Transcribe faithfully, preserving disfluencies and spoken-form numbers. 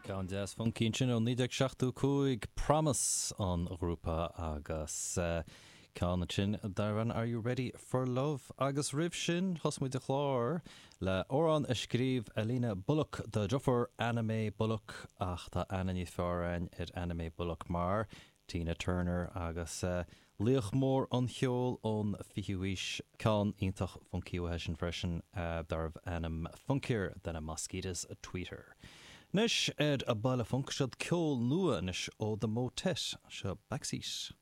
Ceann deas funky sin ó naoi déag seachtó cúig Promise an grúpa agus uh, ceann sin darb ainm Are You Ready for Love agus roimh sin thosaigh muid an clár le amhrán a scríobh Alina Bullock dá deirfiúr Anna Mae Bullock ach tá aithne níos fearr ar Anna Mae Bullock mar Tina Turner agus uh, laoch mór an cheoil ón fichiú haois ceann iontach funky sin freisin uh, darbh ainm Funkier than a Mosquito's Tweeter. Anois ar an Baile Func seo ceol nua anois ó The Motet seo Backseat.